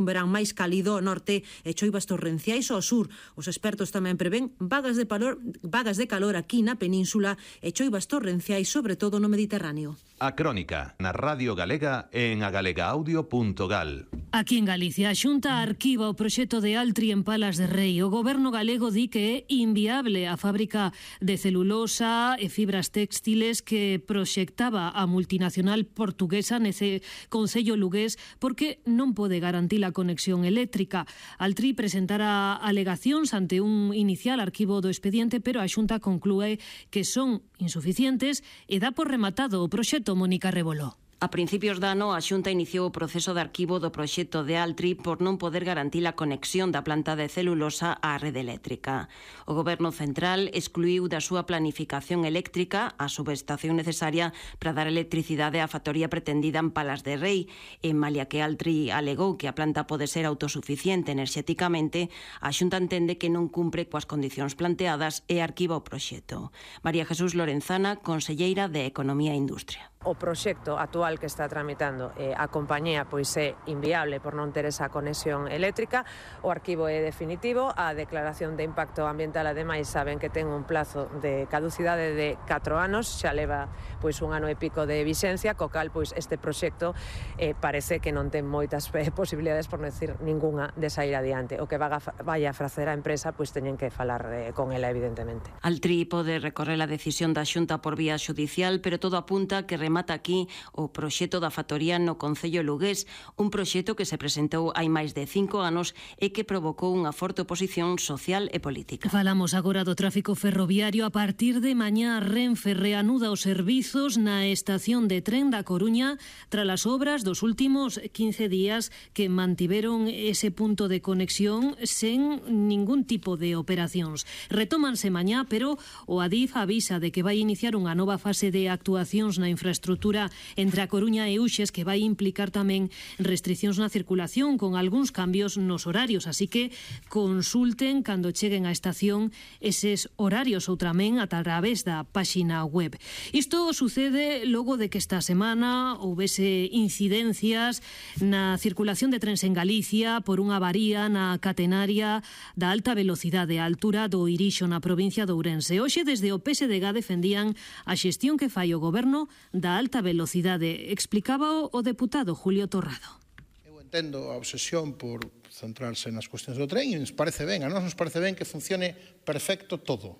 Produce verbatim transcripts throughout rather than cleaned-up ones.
Un verán máis cálido ao norte e choivas torrenciais ao sur. Os expertos tamén prevén vagas de calor, vagas de calor aquí na península e choivas torrenciais, sobre todo no Mediterráneo. A Crónica, na Radio Galega e en agalegaaudio punto gal. Aquí en Galicia, a Xunta arquiva o proxecto de Altri en Palas de Rei. O goberno galego di que é inviable a fábrica de celulosa e fibras textiles que proxectaba a multinacional portuguesa nese concello lugués porque non pode garantir a conexión eléctrica. Altri presentara alegacións ante un inicial arquivo do expediente, pero a Xunta conclúe que son insuficientes e dá por rematado o proxecto. Mónica Reboló. A principios de ano, a Xunta iniciou o proceso de arquivo do proxecto de Altri por non poder garantir a conexión da planta de celulosa á rede eléctrica. O Goberno Central excluiu da súa planificación eléctrica a subestación necesaria para dar electricidade á factoría pretendida en Palas de Rei. En malia que Altri alegou que a planta pode ser autosuficiente enerxéticamente, a Xunta entende que non cumpre coas condicións planteadas e arquiva o proxecto. María Jesús Lorenzana, conselleira de Economía e Industria. O proxecto actual que está tramitando eh, a compañía pois é inviable por non ter esa conexión eléctrica. O arquivo é definitivo, a declaración de impacto ambiental ademais saben que ten un plazo de caducidade de catro anos, xa leva pois un ano e pico de vixencia, co cal pois este proxecto eh, parece que non ten moitas eh, posibilidades, por non decir ningunha, de sair adiante. O que vaga, vai a facer a empresa pois teñen que falar eh, con ela evidentemente. Altri pode recorrer a decisión da Xunta por vía xudicial, pero todo apunta que remata aquí o proxecto da factoría no concello lugués, un proxecto que se presentou hai máis de cinco anos e que provocou unha forte oposición social e política. Falamos agora do tráfico ferroviario. A partir de mañá, Renfe reanuda os servizos na estación de tren da Coruña tras as obras dos últimos quince días que mantiveron ese punto de conexión sen ningún tipo de operacións. Retómanse mañá, pero o Adif avisa de que vai iniciar unha nova fase de actuacións na infraestructura estrutura entre a Coruña e Uxes que vai implicar tamén restriccións na circulación con algúns cambios nos horarios, así que consulten cando cheguen á estación eses horarios ou tamén a través da páxina web. Isto sucede logo de que esta semana houvese incidencias na circulación de trens en Galicia por unha avaría na catenaria da alta velocidade á altura do Irixo na provincia de Ourense. Hoxe desde o P S D G defendían a xestión que fai o goberno da alta velocidade. Explicaba o deputado Julio Torrado. Eu entendo a obsesión por centrarse nas cuestións do tren e nos parece ben, a nós nos parece ben que funcione perfecto todo.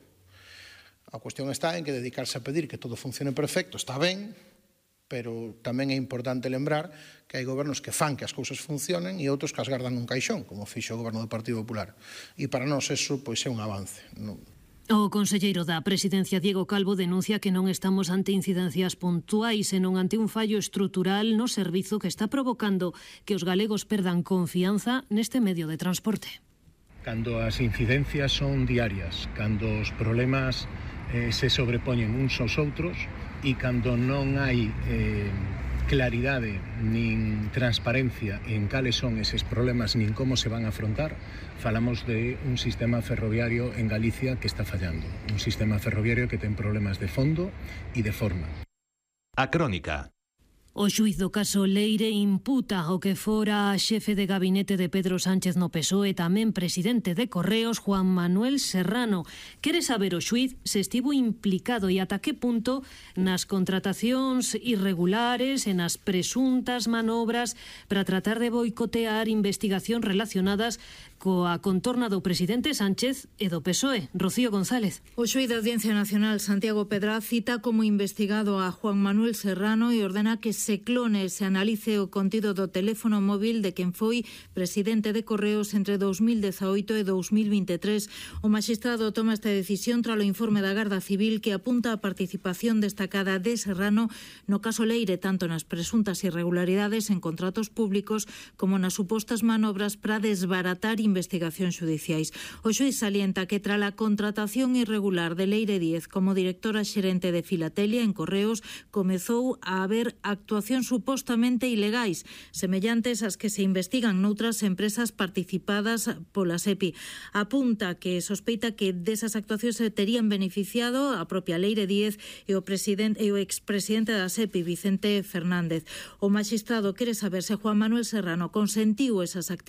A cuestión está en que dedicarse a pedir que todo funcione perfecto está ben, pero tamén é importante lembrar que hai gobernos que fan que as cousas funcionen e outros que as gardan nun caixón, como fixo o goberno do Partido Popular. E para nós eso pois é un avance. Non? O conselleiro da Presidencia, Diego Calvo, denuncia que non estamos ante incidencias puntuais, senón ante un fallo estrutural no servizo que está provocando que os galegos perdan confianza neste medio de transporte. Cando as incidencias son diarias, cando os problemas eh, se sobrepoñen uns aos outros e cando non hai eh, claridade nin transparencia en cales son eses problemas nin como se van a afrontar, falamos de un sistema ferroviario en Galicia que está fallando, un sistema ferroviario que ten problemas de fondo e de forma. A Crónica. O xuíz do caso Leire imputa o que fora xefe de gabinete de Pedro Sánchez no P S O E e tamén presidente de Correos, Juan Manuel Serrano. Quere saber o xuíz se estivo implicado e ata que punto nas contratacións irregulares e nas presuntas manobras para tratar de boicotear investigacións relacionadas coa contorna do presidente Sánchez e do P S O E. Rocío González. O xuíz da Audiencia Nacional, Santiago Pedraz, cita como investigado a Juan Manuel Serrano e ordena que se clone e se analice o contido do teléfono móvil de quen foi presidente de Correos entre dous mil dezaoito e dous mil vinte e tres. O magistrado toma esta decisión tras o informe da Garda Civil que apunta a participación destacada de Serrano no caso Leire, tanto nas presuntas irregularidades en contratos públicos como nas supostas manobras para desbaratar investigacións xudiciais. O xuíz salienta que tras a contratación irregular de Leire Díez como directora xerente de Filatelia en Correos comezou a haber actuacións actuacións supostamente ilegais, semellantes ás que se investigan noutras empresas participadas pola SEPI. Apunta que sospeita que desas actuacións se terían beneficiado a propia Leire Díez e o presidente e o expresidente da SEPI, Vicente Fernández. O maxistrado quere saber se Juan Manuel Serrano consentiu esas actividades